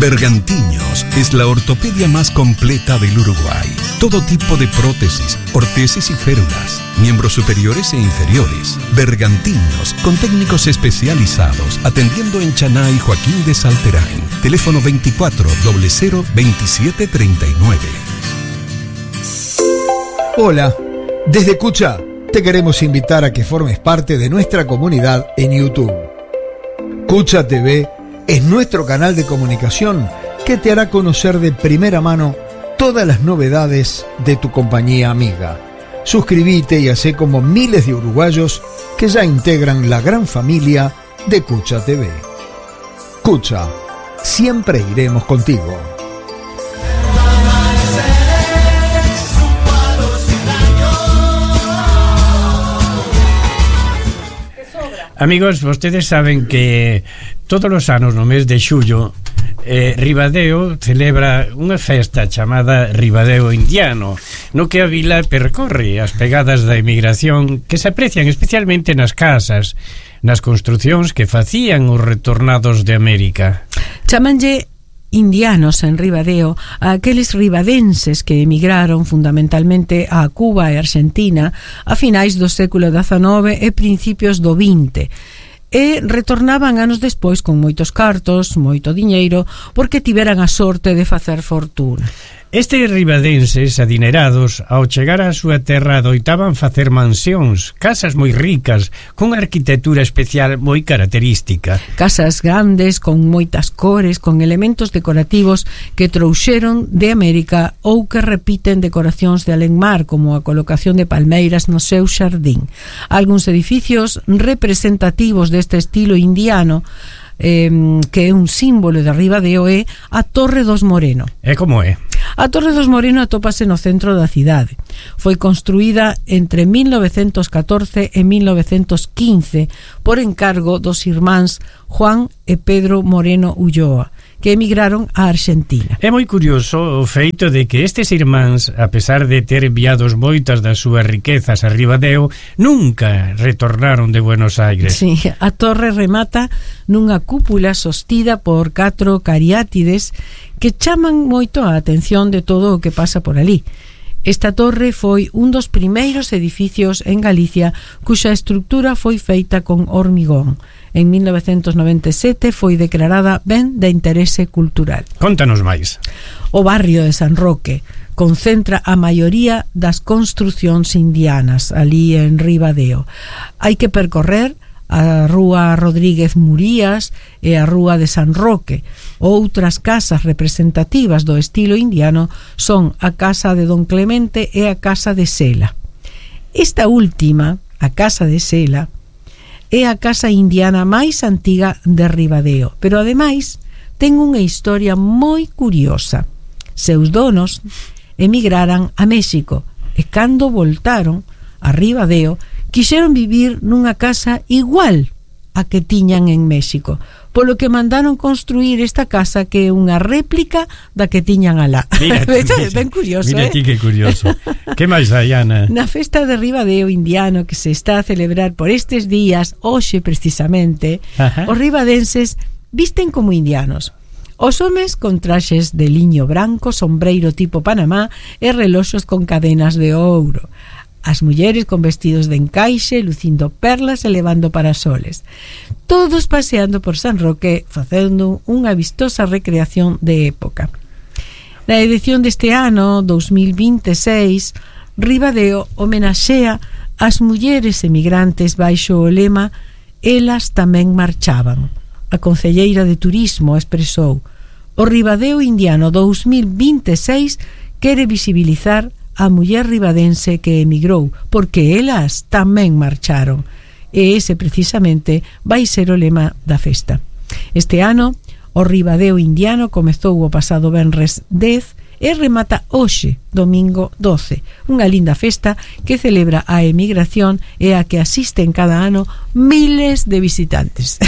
Bergantiños es la ortopedia más completa del Uruguay. Todo tipo de prótesis, ortesis y férulas, miembros superiores e inferiores. Bergantiños, con técnicos especializados, atendiendo en Chaná y Joaquín de Salterain. Teléfono 24 00 27 39. Hola, desde Cucha te queremos invitar a que formes parte de nuestra comunidad en YouTube. Cucha TV es nuestro canal de comunicación que te hará conocer de primera mano todas las novedades de tu compañía amiga. Suscríbete y hacé como miles de uruguayos que ya integran la gran familia de Cucha TV. Cucha, siempre iremos contigo. Amigos, vostedes saben que todos os anos no mes de xullo Ribadeo celebra unha festa chamada Ribadeo Indiano, no que a vila percorre as pegadas da emigración que se aprecian especialmente nas casas, nas construcións que facían os retornados de América. Chamanlle indianos en Ribadeo a aqueles ribadenses que emigraron fundamentalmente a Cuba e Argentina a finais do século XIX e principios do XX e retornaban anos despois con moitos cartos, moito diñeiro, porque tiveran a sorte de facer fortuna. Estes ribadenses adinerados, ao chegar á súa terra, adoitaban facer mansións, casas moi ricas, con arquitectura especial moi característica. Casas grandes, con moitas cores, con elementos decorativos que trouxeron de América ou que repiten decoracións de alenmar, como a colocación de palmeiras no seu xardín. Algúns edificios representativos deste estilo indiano, que é un símbolo de Ribadeo, é a Torre dos Moreno. E como é? A Torre dos Moreno atópase no centro da cidade. Foi construída entre 1914 e 1915 por encargo dos irmáns Juan e Pedro Moreno Ulloa, que emigraron a Argentina. É moi curioso o feito de que estes irmáns, a pesar de ter enviados moitas das súas riquezas a Ribadeo, nunca retornaron de Buenos Aires. Sí, a torre remata nunha cúpula sostida por 4 cariátides que chaman moito a atención de todo o que pasa por ali. Esta torre foi un dos primeiros edificios en Galicia cuxa estructura foi feita con hormigón. En 1997 foi declarada ben de interese cultural. Contanos máis. O barrio de San Roque concentra a maioría das construcións indianas ali en Ribadeo. Hai que percorrer a Rúa Rodríguez Murías e a Rúa de San Roque. Outras casas representativas do estilo indiano son a Casa de Don Clemente e a Casa de Sela. Esta última, a Casa de Sela, é a casa indiana máis antiga de Ribadeo, pero ademais ten unha historia moi curiosa. Seus donos emigraran a México e cando voltaron a Ribadeo quixeron vivir nunha casa igual a que tiñan en México, polo que mandaron construir esta casa que é unha réplica da que tiñan alá. Mira, ben curioso, mira ti que curioso. Que máis hai, Ana? Na festa de Ribadeo Indiano que se está a celebrar por estes días, hoxe precisamente, os ribadenses visten como indianos. Os homes con traxes de liño branco, sombreiro tipo Panamá e reloxos con cadenas de ouro. As mulleres con vestidos de encaixe, lucindo perlas e levando parasoles. Todos paseando por San Roque, facendo unha vistosa recreación de época. Na edición deste ano, 2026, Ribadeo homenaxea as mulleres emigrantes baixo o lema "Elas tamén marchaban". A concelleira de Turismo expresou: "O Ribadeo Indiano 2026 quere visibilizar a muller ribadense que emigrou, porque elas tamén marcharon". E ese precisamente vai ser o lema da festa. Este ano, o Ribadeo Indiano comezou o pasado venres 10 e remata hoxe, domingo 12. Unha linda festa que celebra a emigración e a que asisten cada ano miles de visitantes.